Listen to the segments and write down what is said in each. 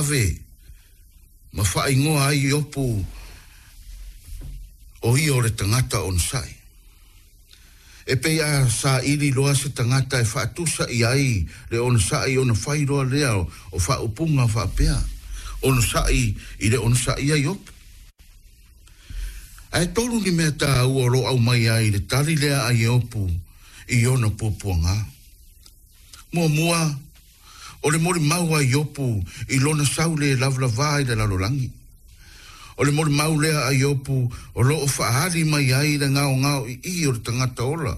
tauave ma faaigoa ai Iopu o ia o le tagata onosai. E pei a saili loa se tagata e faatusa i ai le onosai ona fai loa lea o faaupuga faapea, onosai i le onosai a Iopu. Ae tolu ni mea taua o lo o aumai ai le tali lea a Iopu i ona puapuaga. Muamua, o le molimau a Iopu i lona sau le lavalava i le lalolagi. O le molimau lea a Iopu o lo o faaali mai ai le gaogaoi'i o le tagata ola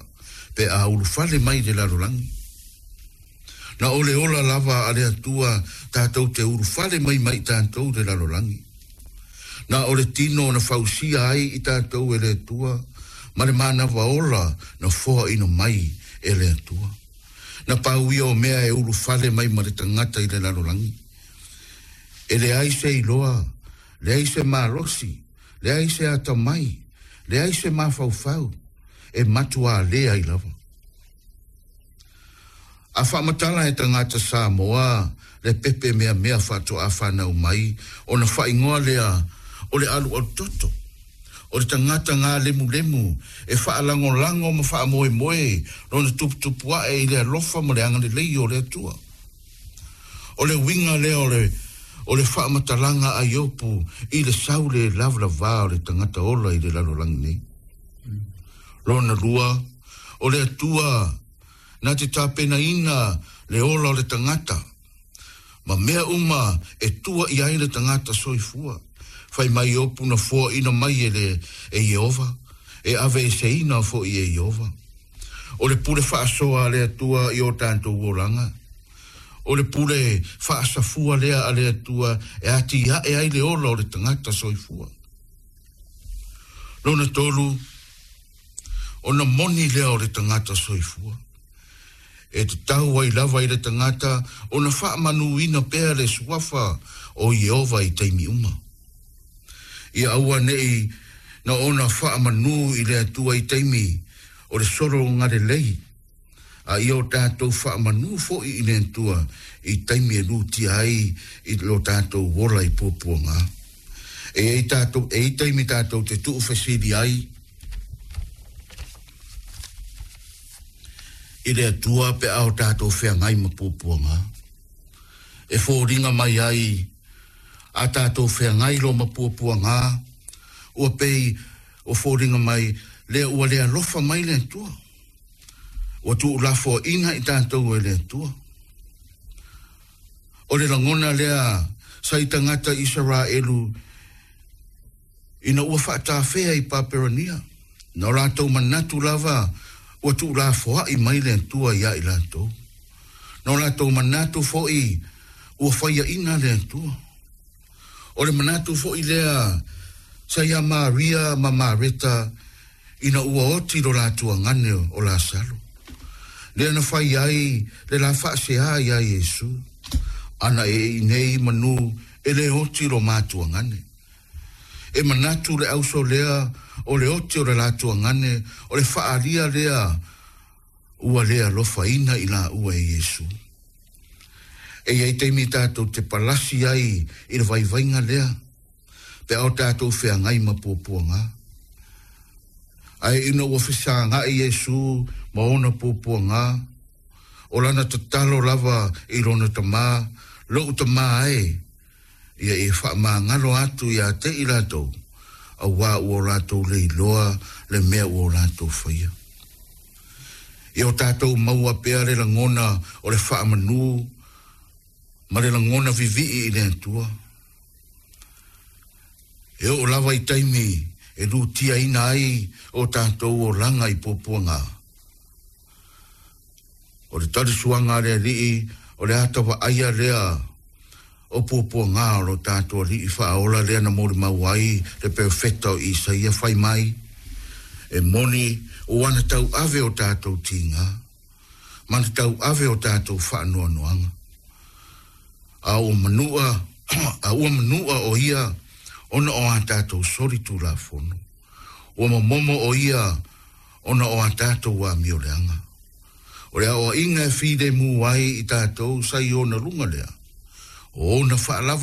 pe a ulufale mai i le lalolagi. Na o le ola lava a le Atua tatou te ulufale mai ma i tatou i le lalolagi. Na o le tino na fausia ai i tatou e le Atua ma le manava ola na foaina mai e le Atua. Na pau ia o mea e ulufale mai ma le tagata i le lalolagi. E leai se iloa, leai se malosi, leai se atamai, leai se mafaufau, e matuā leai lava. A faamatala e tagata Samoa le pepe meamea faatoa fanau mai, ona faaigoa lea o le alualutoto. O le tagata galemulemu e faalagolago ma faamoemoe lona tuputupuae i le alofa ma le agalelei o le Atua. O le uiga lea o le o le faamatalaga a Iopu i le sau le lavalava o le tagata ola i le lalolagi nei. Lona lua, o le Atua na te tapenaina le ola o le tagata ma mea uma e tua i ai le tagata soifua. Fai mai Iopu na foaina mai e le e Ieova, e aveeseina foi e Ieova. O le pule faasoa a le Atua i o tatou olaga. O le pule faasafua lea a le Atua e atiae ai le ola o le tagata soifua. Lona tolu, ona moni lea o le tagata soifua. E tatau ai lava i le tagata ona faamanuina pea le suafa o Ieova i taimi uma. Ia aua ne'i na ona faamanu i le Atua i taimi o le sologa lelei, a ia o tatou faamanu foi i le Atua i taimi e lutia ai i lo tatou ola i puapuaga. E i ai tatou, e i ai taimi tatou te tuufesili ai i le Atua pe a o tatou feagai ma puapuaga. E foliga mai ai a tatou feagai loa ma puapuaga, ua pei ua foliga mai lea ua le alofa mai le Atua. Ua tuulafoaiina i tatou e le Atua. O le lagona lea sa i tagata Isaraelu ina ua faatafea i Paperonia, na o latou manatu lava ua tuulafoai mai le Atua iā i latou. Na o latou manatu foi ua faiaina le Atua. O le manatu foi lea sa iā Maria ma Mareta ina ua oti lo latou agane o Lasalo. Lea na fai ai le la faasea iā Iesu, Ana e i nei manu e le oti lo matou agane. E manatu le auso lea o le oti o le latou agane o le faaalia lea ua le alofaina i laua e Iesu. E i ai taimi tatou te palasi ai i le vaivaiga lea, pe a o tatou feagai ma puapuaga. Ae ina ua fesagai Iesu ma ona puapuaga, o lana tatalo lava i lona Tama, Lou Tama e, ia e faamagalo atu iā te i latou, auā ua o latou le iloa le mea ua o latou faia. Ia o tatou maua pea le lagona o le faamanu ma le lagona vivii i le Atua. E oo lava i taimi e lutiaina ai o tatou olaga i puapuaga. O le talisuaga a le Alii o le ata vaaia lea o puapuaga o lo tatou Alii faaola lea na molimau ai le perofeta o Isaia fai mai, E moni ua na tauave o tatou tiga, ma na tauave o tatou faanoanoaga. A ua manua, a ua manua o ia ona o a tatou soli tulafono. Ua momomo o ia ona o a tatou amioleaga. O le aoaiga e filemu ai i tatou sa i ona luga lea, o ona faalavalava.